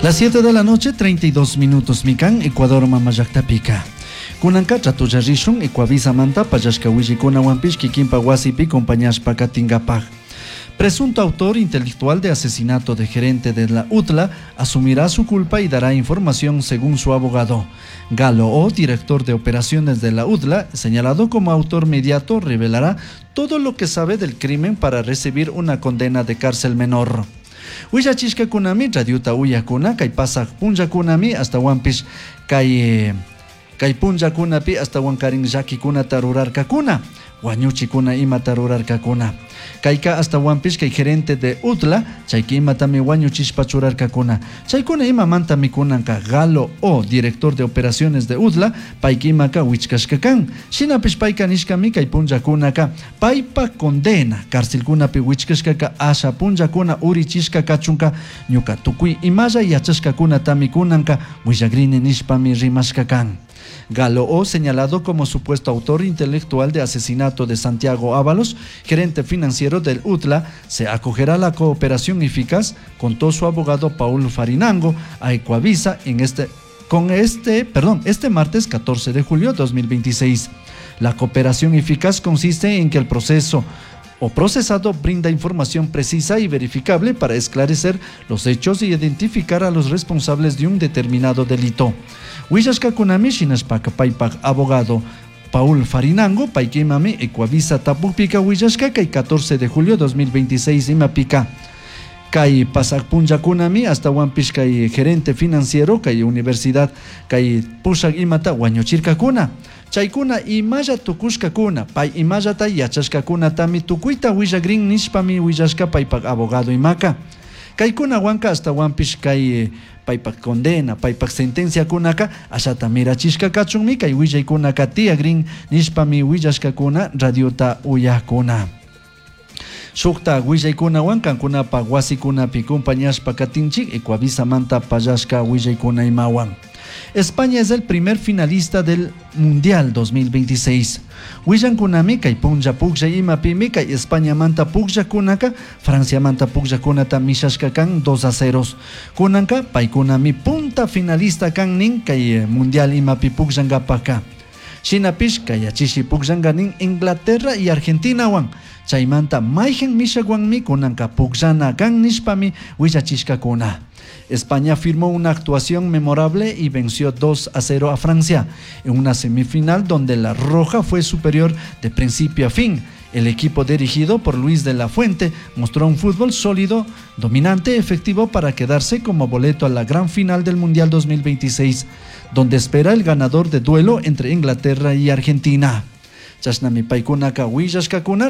Las 7 de la noche, 32 minutos, mikan, Ecuador mamallaktapica. Kunanka ratolla rishun Ecuavisamanta pallashka willaykunawanpish kikinpa wasipi compañashpa katinkapak. Presunto autor intelectual de asesinato de gerente de la UTLA asumirá su culpa y dará información según su abogado. Galo O, director de operaciones de la UTLA, señalado como autor mediato, revelará todo lo que sabe del crimen para recibir una condena de cárcel menor. Willachishkakunami radiota uyakuna kay pasaq punllakunami ashtawanpish kay kay punllakunapi ashtawankarin llakikunata rurarkakuna, wañuchikuna imata rurarkakuna. Kayka ashtawanpish kay gerente de UTLA chayka imatami wañuchishpa churarkakuna. Chaykuna imamantami kunanka Galo O, director de operaciones de UTLA, payka imaka wichkashka kan. Shinapish payka nishkami kay punllakunaka paypa condena carcelkunapi wichkashkaka asha punllakuna urichishka kachunka ñuka tukuy imalla yachashkakunatami kunanka willagrini nishpami rimashka kan. Galo O, señalado como supuesto autor intelectual de asesinato de Santiago Ábalos, gerente financiero del UTLA, se acogerá a la cooperación eficaz, contó su abogado Paul Farinango a Ecuavisa en este, con este, perdón, este martes 14 de julio de 2026. La cooperación eficaz consiste en que el proceso o procesado brinda información precisa y verificable para esclarecer los hechos y identificar a los responsables de un determinado delito. Willashkakunami shinashpaka paypak abogado Paul Farinango, paykimami Ecuavisa tapukpika willashka kay 14 de julio 2026 imapika. Kay pasak punllakunami ashtawanpish kay gerente financiero kay universidad kay pushak imata wañuchirkakuna. Chaykuna imalla tukushkakuna, pay imallata yachashkakunatami tukuyta willagrin nishpami willashka paypak abogado imaka. Kaykunawanka ashtawanpish kay paypak condena, paypak sentenciakunaka ashata mirachishka kachunmi kay willaykunaka tiyagrin nishpami willashkakuna radiota uyakuna. Shukta willaykunawan kankunapak wasikunapi compañashpa katinchik Ecuavisamanta pallashka willaykuna imawan. España es el primer finalista del Mundial 2026. Willankunami kay punlla puklla imapimi kay Españamanta pukllakunaka Franciamanta pukllakunata mishashka kan 2-0. Kunanka paykunami punta finalista kan nin kay Mundial imapi pukllankapaka. Shinapish kayachishi pukllanka nin Inglaterra y Argentinawan. Chaymanta mayhan mishakwanmi kunanka pukllana kan nishpami willachishkakuna. España firmó una actuación memorable y venció 2-0 a Francia en una semifinal donde la Roja fue superior de principio a fin. El equipo dirigido por Luis de la Fuente mostró un fútbol sólido, dominante, efectivo para quedarse como boleto a la gran final del Mundial 2026, donde espera el ganador de duelo entre Inglaterra y Argentina. Chashnami paykunaka willashkakuna.